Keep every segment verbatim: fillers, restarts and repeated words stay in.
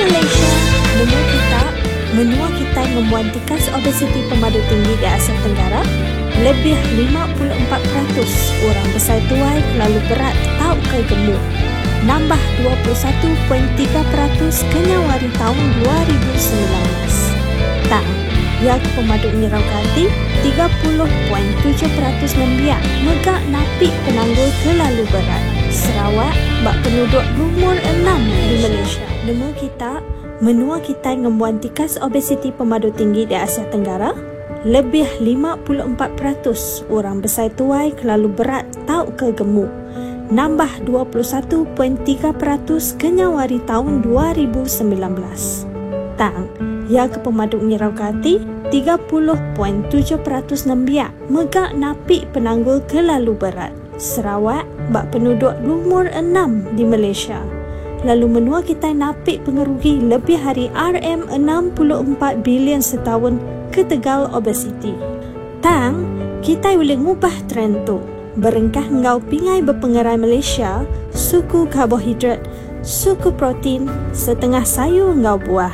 Malaysia, nemu kita, menua kita ngembuan tikas obesiti pemadu tinggi di Asia Tenggara, lebih lima puluh empat peratus orang besai tuai kelalu berat tau ke gemuk. Nambah dua puluh satu perpuluhan tiga peratus kenyawari tahun dua ribu sembilan belas. Tang, ya ke pemadu ngirau hati, tiga puluh perpuluhan tujuh peratus nembiak megak napi penanggul kelalu berat. Sarawak bak penduduk lumur enam di Malaysia. Nemu kita, menua kita ngembuan tikas obesiti pemadu tinggi di Asia Tenggara, lebih lima puluh empat peratus orang besai tuai kelalu berat tau ke gemuk. Nambah dua puluh satu perpuluhan tiga peratus kenyawari tahun dua ribu sembilan belas. Tang, ya ke pemadu ngirau hati, tiga puluh perpuluhan tujuh peratus nembiak megak napi penanggul kelalu berat. Sarawak bak penduduk lumur enam di Malaysia. Lalu menua kita napi pengerugi lebih hari R M enam puluh empat bilion setahun ke Tegal obesiti. Tang, kita boleh ngubah trend tu. Berengkah ngau pingai berpengerai Malaysia, suku karbohidrat, suku protein, setengah sayur ngau buah.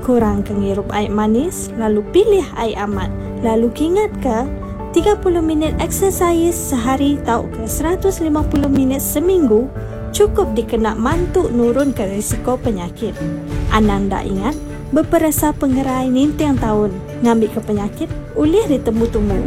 Kurang ke ngirup air manis, lalu pilih air amat. Lalu kingat ke tiga puluh minit exercise sehari tau ke seratus lima puluh minit seminggu cukup dikena mantu nurun ke risiko penyakit. Ananda ingat, berperasa pengerai nintiang tahun, ngambil ke penyakit, ulih ditemu-temu.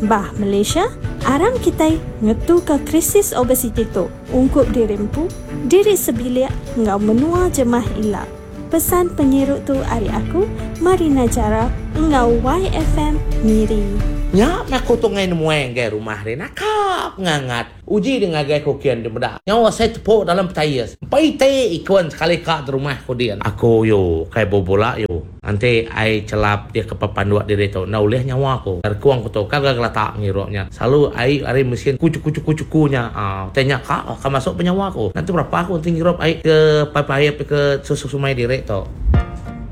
Bah Malaysia, aram kita ngetu ke krisis obesiti tu. Ungkup diri empu, diri sebilik, ngau menua jemah ila. Pesan penyiruk tu ari aku, Marina Jara, ngau Y F M Miri. Nyak aku tu ngai nemuai ngai rumah ni nakap ngangat. Uji dengan gai kokian di bedak. Nyawa saya tepuk dalam petayas. Pai te ikon sekali kak di rumah ko dia. Aku yo kai bobola yo. Nanti ai celap dia ke papanduak diri tu. Nah ulih nyawa aku. Terkuang ku tu kagak gelatak ngiruknya. Selalu ai ari mesin kucu kucu kucu kunya. Ah, tanya kak, ka masuk penyawa aku. Nanti berapa aku nanti ngirup ai ke pai-pai ke susu sumai diri tu.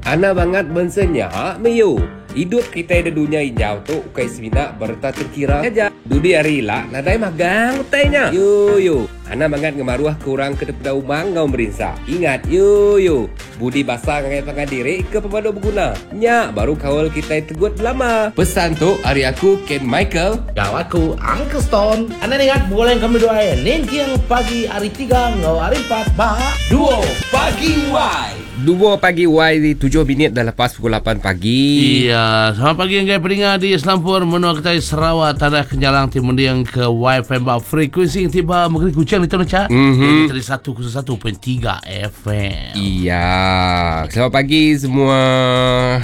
Ana banget bensenya meyo. Hidup kita di dunia hijau tu ukai semina berta terkira aja. Dudi hari lah nadai magang utainya. Yo yo. Ana banget ngemaruah kurang ke depan umang ngau merinsa. Ingat yo yo. Budi basah ngai pangan diri ke pemadu berguna. Nya baru kawal kita tegut lama. Pesan tu hari aku Ken Michael. Gau aku Uncle Stone. Anda ingat boleh kami doa ya. Nintiang pagi hari tiga ngau hari empat ba duo pagi Y. Dua pagi Y di tujuh minit dah lepas pukul lapan pagi. Iya, selamat pagi yang pendengar di Selampur menua kita Sarawak tanah Kenjalang Timundiang ke Y F M bak frekuensi yang tiba negeri Kuching di Tanah Cak. Mm-hmm. Dari satu kosong satu perpuluhan tiga F M. Iya, selamat pagi semua.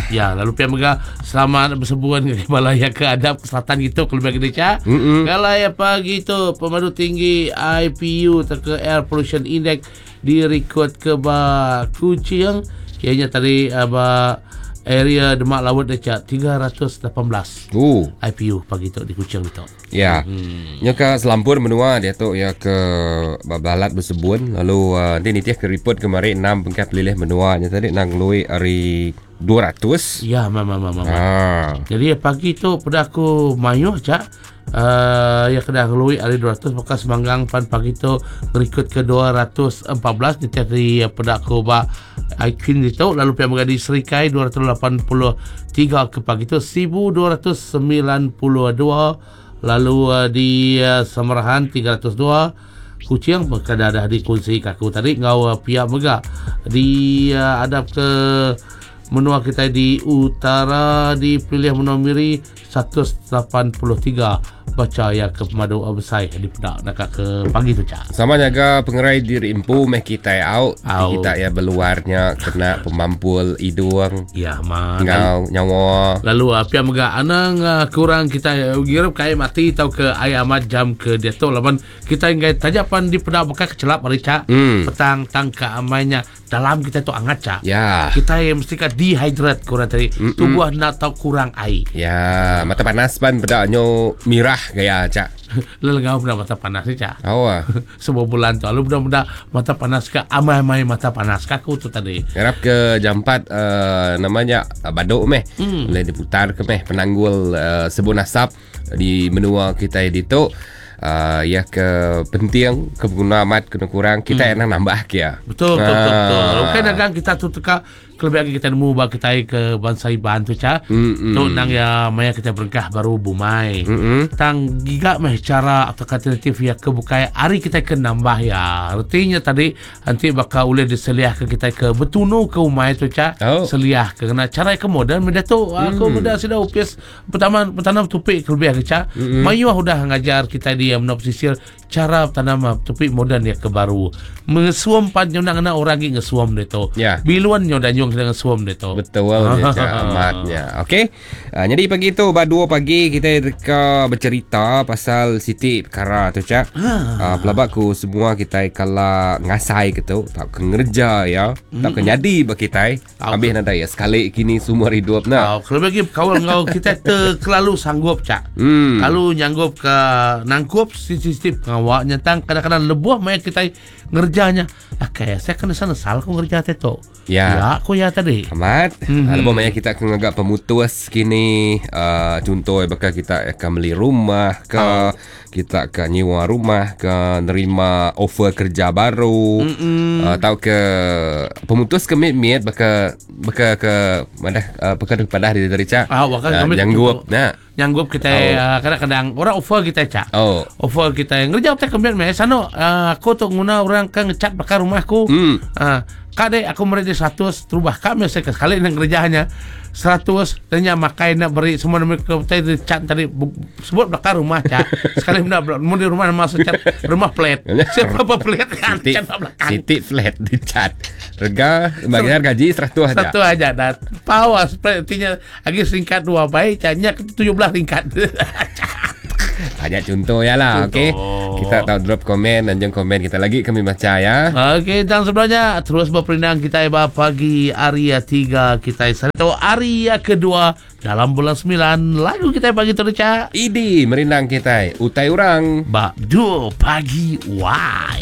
Ya, lalu pihak megah selamat bersebuan ke Malaya ke adab ke selatan gitu kalau bagi dia. Mm-hmm. Kalau ya pagi tu pemadu tinggi I P U atau ke Air Pollution Index direkod ke ba Kuching ianya tadi ba area Demak Laut dekat tiga ratus lapan belas. Oh. I P U pagi tu di Kuching tu. Ya. Hmm. Nya ke Selampur menua dia tu ya ke Balat bersebun lalu uh, nanti nitih ke report kemarin enam pengkat pelilih menua nya tadi nang lui hari dua ratus. Ya, mama mama. Ah. Jadi pagi tu pada aku mayuh cak. Uh, ya kena ngelui hari dua ratus bekas manggang pan pagi tu berikut ke dua ratus empat belas ni tadi pada aku ba Aikin itu lalu pihak mengadil Serikai dua ratus lapan puluh tiga ke pagi tu seribu dua ratus sembilan puluh dua lalu uh, di uh, Samarahan tiga ratus dua Kuching berkada dah dikongsi kaku tadi ngau uh, pihak megah di uh, adab ke menua kita di utara di pilih menua Miri seratus lapan puluh tiga baca ya ke pemadu besar di pedak nak ke pagi tu cak. Sama jaga pengerai diri empu meh kita out, out. Kita ya berluarnya kena pemampul hidung. Ya ma. Ngau nyawa. Lalu apa yang megah anang kurang kita girup kai mati atau ke air amat jam ke dia tu lawan kita ingin tajapan di pedak bekas kecelap hari cak. Hmm. Petang tangka amainya dalam kita tu angat cak. Ya. Kita yang mesti kat dehydrate kurang tadi. Mm-mm. Tubuh nak tahu kurang air. Ya, mata panas pan pedaknya mirah gaya cak. Lelengau pernah mata panas ni cak. Oh ah. Sebuah bulan tu lalu budak-budak mata panas ke amai-amai mata panas kaku tu tadi. Harap ke jam empat uh, namanya uh, baduk meh. Mm. Boleh diputar ke meh penanggul uh, sebun asap di menua kita di tu. uh, ya ke penting ke guna amat kena kurang kita hmm. nak nambah ke ya. Betul betul betul. betul. Okey dagang kita tu teka kelebih lagi kita nemu ba kita ke bangsa Iban tu ca. Mm-mm. Tu nang ya maya kita berengkah baru bumai. Mm-mm. Tang giga meh cara atau alternatif ya ke bukai hari kita ke nambah ya. Artinya tadi nanti bakal boleh diseliah ke kita ke betunu ke umai tu ca. Oh. Seliah ke kena cara ke moden benda tu aku Hmm. benda sudah upis pertama pertama tupik kelebih ke ca. Mm-mm. Mayuh udah ngajar kita dia menop sisir cara tanam tupik moden ya ke baru. Mengesuam pan nyo nak orang lagi ngesuam dia tu. Ya. Biluan nyo dan nyong sedang ngesuam dia tu. Betul je Cak amatnya. Okey. Uh, jadi pagi tu ba dua pagi kita deka bercerita pasal siti perkara tu Cak. Uh, pelabak ku semua kita kala ngasai ke tu, tak ke ngerja ya, tak ke nyadi ba kita. Tau Habis nadai ya sekali kini semua hidup nak. Oh, kalau bagi kawal ngau kita terlalu sanggup cak. Hmm. Kalau nyanggup ke nangkup sisi pengawak nyentang kadang-kadang lebuh maya kita ngerjanya. Ah kayak saya kena sana sal aku ngerja teto. Ya. Ya, aku ya tadi. Amat. Mhm. Mm-hmm. Lepas banyak kita akan agak pemutus kini uh, contoh bakal kita akan beli rumah ke oh. kita akan nyewa rumah ke nerima offer kerja baru mm-hmm. uh, atau ke pemutus ke mid-mid bakal bakal ke mana uh, perkara padah dari dari cak. Ah, bakal uh, kami nyanggup nah. Nyanggup kita Oh. oh. kadang-kadang orang offer kita cak. Oh. Offer kita ngerja kita kemudian meh sano uh, aku tu nguna orang kan ngecat bakal rumahku. Hmm. Ah, kak dek aku beri dia seratus terubah kak mesti sekali nak kerjanya seratus tanya makai nak beri semua nama ke tadi cat tadi bu- sebut belakang rumah cak sekali nak mau di rumah masuk cat rumah plet siapa apa plet kan Siti, cat belakang Siti flat di cat. Rega bagian gaji seratus aja. satu aja dah power artinya lagi singkat dua baik catnya tujuh belas tingkat Banyak contoh ya lah, okey. Contoh. Kita tahu drop komen dan jangan komen kita lagi kami baca ya. Okey, dan sebelumnya terus berperindang kita iba pagi Aria tiga kita atau Aria kedua dalam bulan sembilan lagu kita pagi tu Cak. Idi merindang kita utai orang. Bak dua pagi why.